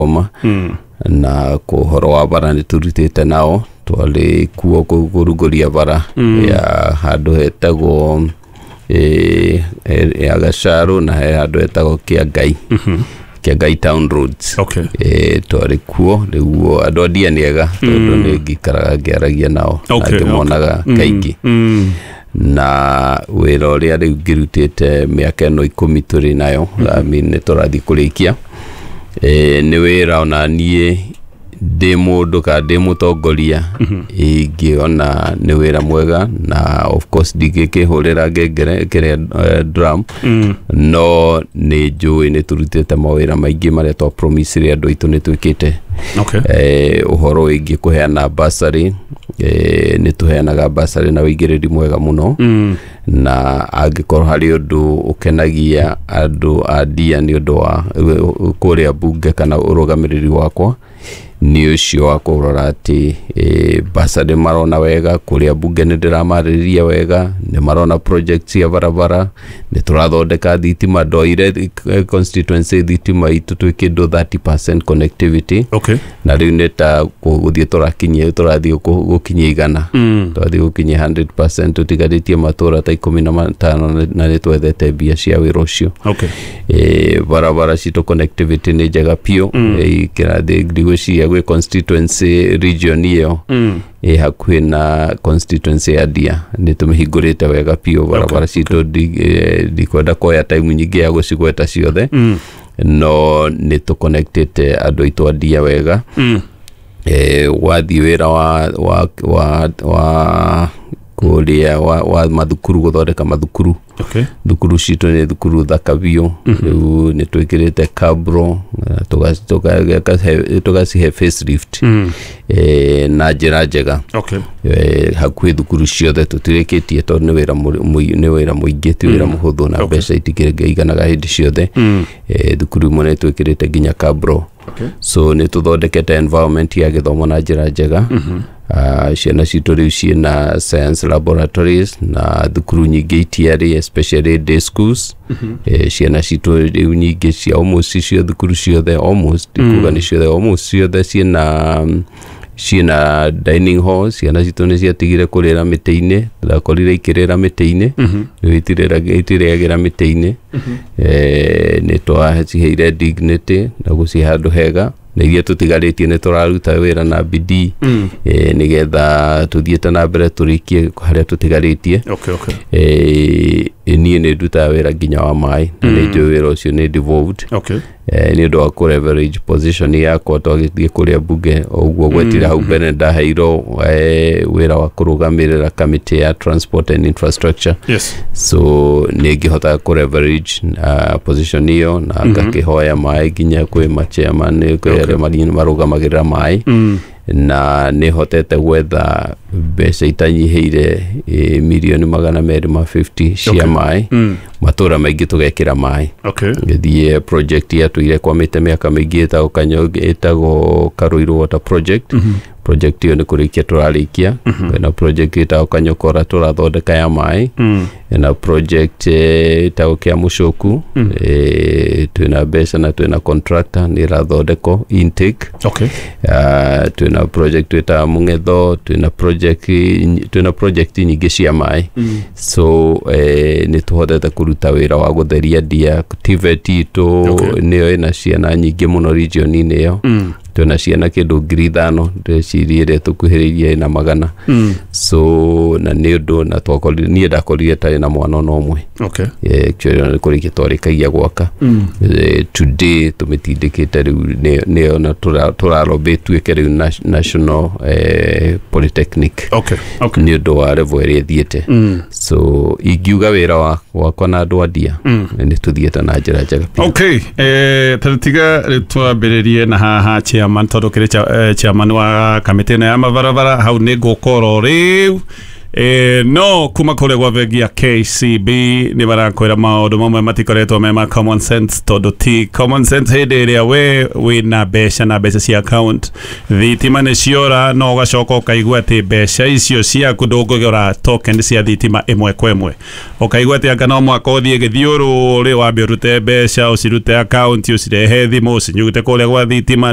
Gũthoma na kũhoro wa bara nĩ tũrutĩte nao, twarĩ kuo kũrugũria bara ya handũ hetagwo ya Gacarũ na he handũ hetagwo Kĩangai, Kĩangai Town Roads. Twarĩ kuo. Rĩu andũ a Ndia nĩ ega tondũ nĩ ngikaraga ngĩaragia nao na ngĩmonaga kaingĩ. Na wĩra ũrĩa rĩu ngĩrutĩte mĩaka ĩno 10 tũrĩ nayo, I mean, nĩ tũrathiĩ kũrĩkia, nĩ wĩra ona niĩ ndĩ mũndũ kana ndĩ mũtongoria ingĩona nĩ wĩra mwega. Na of course ndingĩkĩhũrĩra ngengere kĩrĩa drum, no nĩ njũĩ nĩ tũrutĩte mawĩra maingĩ marĩa twa promise andũ aitũ nĩ twĩkĩte. Ũhoro wĩgiĩ kũheana bursary, nĩ tũheanaga bursary na wĩigĩrĩri mwega mũno. Na angĩkorwo harĩ ũndũ ũkenagia andũ a Ndia nĩ ũndũ wa kũrĩa bunge kana ũrũgamĩrĩri wakwa, nĩ ũcio wa kũrora atĩ bursary marona wega kũrĩa bunge, nĩ ndĩramarĩrĩria wega, nĩ marona project cia barabara, nĩ tũrathondeka thitima. Ndoire constituency thitima itũ twĩ kĩndũ 30% connectivity. Na rĩu nĩ ta gũthiĩ tũrakinyia, tũrathiĩ gũkinyia 100. Tũrathiĩ gũkinyia 100%, tũtigarĩtie matũra ta 15 na nĩ twethete mbia cia wĩra ũcio. Barabara citũ connectivity nĩ njega biũ. Kĩrathiĩ ndigwĩciria gwĩ constituency region ĩyo ĩ hakuhĩ na constituency ya Ndia nĩ tũmĩhingũrĩte wega biũ barabara citũ. Ndikwenda kuoya time nyingĩ ya gũcigweta ciothe, no nĩ tũconnectĩte andũ aitũ a Ndia wega. Wathiĩ wĩra wa kũrĩa wa mathukuru, gũthondeka mathukuru. Thukuru citũ nĩ thukuru thaka biũ. Rĩu nĩ twĩkĩrĩte cabro, tũgacihe facelift na njĩra njega. Hakuhĩ thukuru ciothe tũtirĩkĩtie tondũ nĩ wĩra nĩ wĩra mũingĩ, ti wĩra mũhũthũ na mbeca itikĩiganaga hĩndĩ ciothe. Thukuru imwe nĩ twĩkĩrĩte nginya cabro. So nĩ tũthondekete environment ya gĩthomo na njĩra njega. Ciana citũ rĩu ciĩna science laboratories na thukuru nyingĩ itiarĩ, especially day schools. Ciana citũ rĩu nyingĩ cia almost cio thukuru ciothe, almost ndikuga nĩ ciothe, almost ciothe ciĩna dining hall. Ciana citũ nĩ ciatigire kũrĩra mĩtĩ-inĩ, ndakorire ikĩrĩra mĩtĩ-inĩ, rĩu itirĩagĩra mĩtĩ-inĩ. Nĩ twaciheire dignity na gũcihe handũ hega, na iria tũtigarĩtie nĩ tũraruta wĩra na bidii nĩgetha tũthiĩte na mbere tũrĩkie harĩa tũtigarĩtie. Niĩ nĩ ndutaga wĩra nginya wa maĩ na nĩ njũĩ wĩra ũcio nĩ devolved. Nĩ ũndũ wa kũ leverage position yakwa twagĩthiĩ kũrĩa bunge o ũguo gwetire hau mbere, ndaheirwo wĩra wa kũrũgamĩrĩra kamĩtĩ ya transport and infrastructure. So nĩ ngĩhotaga kũ leverage position ĩyo na ngakĩhoya maĩ nginya kwĩ machairman, kwĩ arĩa marũgamagĩrĩra maĩ, na nĩ hotete gwetha mbeca itanyihĩire mirioni 250 cia maĩ. Matũra maingĩ tũgekĩra maĩ. Gĩthiĩ project yatũire kwamĩte mĩaka mĩingĩ ĩtagwo Kanyo, ĩtagwo Karũirũ Water Project. Project ĩyo nĩ kũrĩkia tũrarĩkia. Kwĩna project ĩtagwo Kanyokora tũrathondeka ya maĩ. Na project ĩtagwo Kĩa Mũcũku, twĩna mbeca na twĩna contractor, nĩ ĩrathondekwo intake. Twĩna project twĩtaga Mũng'etho, twĩna project nyingĩ cia maĩ. So nĩ tũhotete kũruta wĩra wa gũtheria Ndia. TVET itũ nĩyo ĩna ciana nyingĩ mũno region-inĩ ĩyo. Twĩna ciana kĩndũ 5,000, ndĩreciria ĩrĩa tũkuhĩrĩirie ĩna magana. So na nĩ ũndũ na twakorire, niĩ ndakorire tarĩ na mwana ona ũmwe. Actually ona nĩ kũrĩkia twarĩkagia gwaka. Today tũmĩtindĩkĩte rĩu nĩyo na tũraromba ĩtuĩke rĩu national polytechnic nĩ ũndũ wa level ĩrĩa ĩthiĩte. So ingiuga wĩra wakwa na andũ a Ndia nĩ tũthiĩte na njĩra njega biũ. Okay, tiga rĩu twambĩrĩrie na haha chairman, tondũ kĩrĩ chairman wa kamĩtĩ ĩno ya mabarabara hau nĩ ngũkorwo rĩu. No kuma kũrĩa gwa bengi ya KCB nĩ marakwĩra maũndũ mamwe matikoretwo me ma common sense, tondũ ti common sense hĩndĩ ĩrĩa we wĩna mbeca na mbeca cia account, thitima nĩ ciora, no ũgacoka ũkaigua atĩ mbeca icio ciaku ndũngĩgũra token cia thitima ĩmwe kwa ĩmwe, ũkaigua atĩ anga no mwaka ũthiĩ gĩthiũrũrĩ wambe ũrute mbeca, ũcirute account, ũcirehe thimũ, ũcinyute kũrĩa gwa thitima.